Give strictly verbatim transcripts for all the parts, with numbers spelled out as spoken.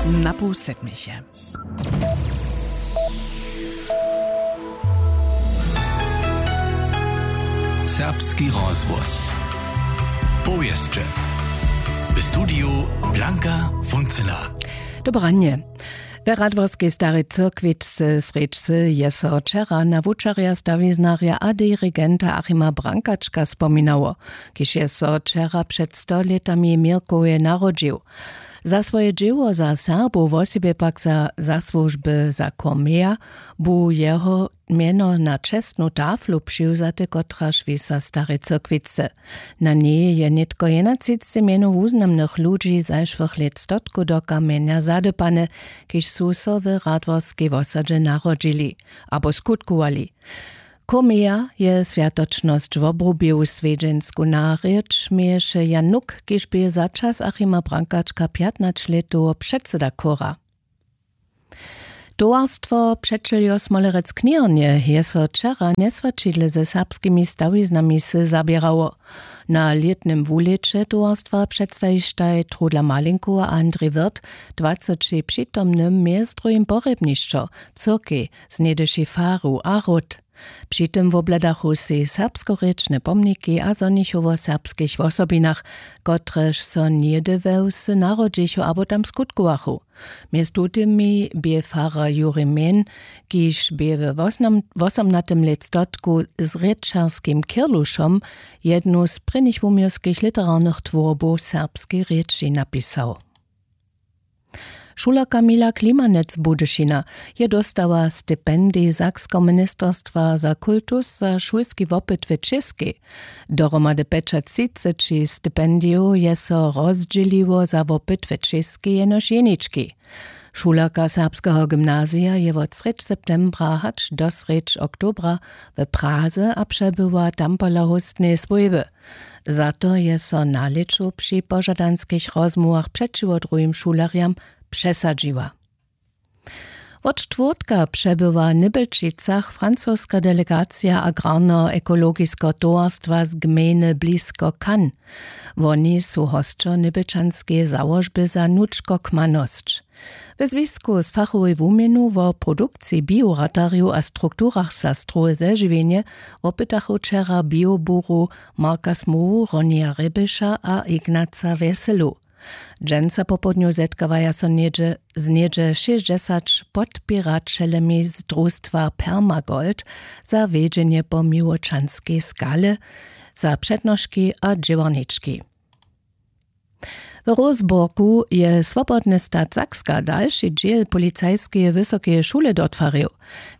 Na pół sedmich je. Serbski rozhłos. Powěsće. W studiju Blanka Funcyna. Dobranje. We Radworskej Starej Cyrkwitce srjedźcy je so wčera na wučerja, stawiznarja a dirigenta Achima Brankačka spominało, kiž je so wčera před sto lětami w Měrkowje narodźił. Za swoje dźěło za Serbow, wosebje pak za zasłužby za Cormeja, bu jeho mjeno na čestnu taflu přiwzate, kotraž wisa w Starej Cyrkwitce. Na njej je nětko jedenatřicci mjenow wuznamnych ludźi zašłych lětstotkow do kamjenja zadypane, kiž su so w Radworskej wosadźe narodźili abo skutkowali. Cormeja je swjatočnosć wobrubił. Swjedźensku narěč měješe Jan Nuk, kiž bě za čas Achima Brankačka pjatnaćlětowo předsyda chóra. Towarstwo přećeljo Smolerec Knjerje je so wčera njeswaćidle ze serbskimi stawiznami wsy zaběrało. Na lětnym wulěće towarstwa předstajištaj Trudla Malinkowa a Andrej Wirth dwaceći přitomnym mjez druhim porjebnišćo, cyrkej, z něhdyšej faru a hród. Při tym wobhladachu sej serbskorěčne pomniki a zhonichu wo serbskich wosobinach, kotrež so něhdy we wsy narodźichu abo tam skutkowachu. Mjez tutymi bě farar Juri Mehn, kiž bě we wosomnatym lětstotku z rěčarskim Kirlušom jednu z prěnich wuměłskich literarnych twórbow w serbskej rěči napisał. Šulerka Mila Klimanec z Budyšina je dóstała stipendij Sakskeho ministerstwa za kultus za šulski wopyt w Čěskej. Dohromady pjećatřiceći stipendijow je so rozdźěliło za wopyt w Čěskej jenož jenički. Šulerka serbskeho gymnazija je wot srjedź septembra hač do srjedź oktobra w Praze a přebywa tam pola hóstneje swójby. Za to je so na lěću při požadanskich rozmołwach přećiwo druhim šulerjam přesadźiła. Wot štwórtka přebywa w Nybelčicach francoska delegacija agrarneho ekologiskeho towarstwa z gmejny blisko Cannes. Woni su hosćo nybelčanskeje załožby za nučkokmanosć. We zwisku z fachowej wuměnu wo produkciji bioratarjow a strukturach za strowe zežiwjenje wopytachu wčera bioburow Marka Smołu, Ronija Rěbiša a Ignaca Wjeselu. Dźensa popołdnju zetkawaja so něhdźe z něhdźe šěsćdźesać podpěraćelemi z drustwa Permagold za wjedźenje po miłočanskej skale, za přednoški a dźěłarnički. W Roseburgu je Swobodny stat Sakska dalši dźěl policajskeje wysokeje šule dotwarił.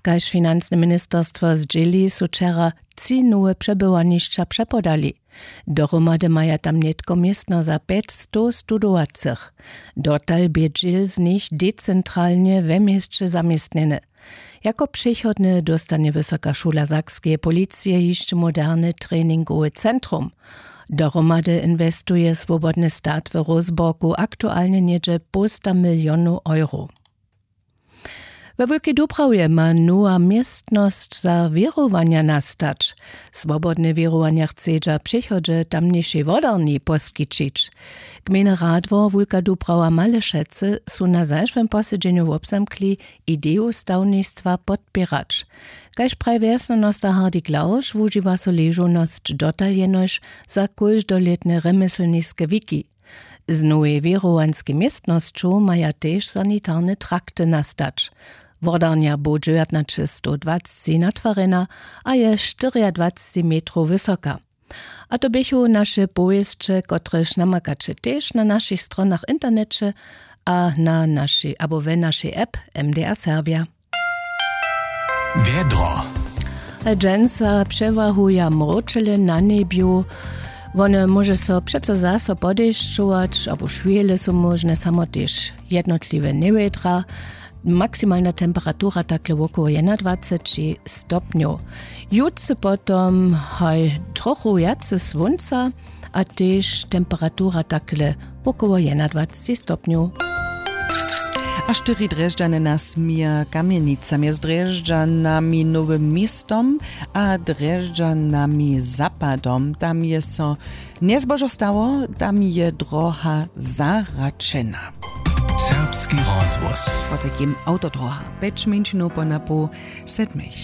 Kaž financne ministerstwo zdźěli, su wčera tři nowe přebywanišća přepodali. Dohromady maja tam nětko městno za pjećstow studowacych. Dotal bě dźěl z nich decentralnje we měsće zaměstnjeny. Jako přechodne dóstanje Wysoka šula sakskeje policije hišće moderne treningowe centrum. Dohromady inwestuje Swobodny stat w Roseburgu aktualnje něhdźe połsta milionow euro. We Wulkej Dubrawje ma nowa městnosć za wěrowanja nastać. Swobodne wěrowanja chcedźa w přechodźe tamnišej wodarni poskićić. Gmejny radwor Wulka Dubrawa Malešecy su na zašłym posedźenju wobzamkli ideju stawnistwa podpěrać. Kaž praji wjesnjanosta Hardy Klausch, wužiwa so ležownosć dotal jenož za kóždolětne rjemjeslniske wiki. Z nowej wěrowanskej městnosću maja tež sanitarne trakty nastać. Wodarnja bu dźewjatnaćestowdwacci natwarjena a je štyriadwacci metrow wysoka. A to běchu naše powěsće, kotrež namakaće tež na našich stronach w interneće a na našej abo we našej app M D R Serbja. Wjedro. Dźensa přewahuja mróčele na njebju. Wone móže so přeco zaso podešćować abo šwěle su móžne, samo tež jednotliwe njewjedra. Maksimalna temperatura takle wokoło jedenadwaceći stopnjow. Jutře potom haj trochu wjace słónca a tež temperatura takle wokoło jedenadwaceći stopnjow. A štyri Drježdźany nas měja kamjenica mjez Drježdźanami, Nowym Městom a Drježdźanami zapadom. Tam je so njezbožo stało, tam je droha zaračena. Serbski rozhłos. Potajkim awtodroha pjeć mjeńšinow po napoł sedmich.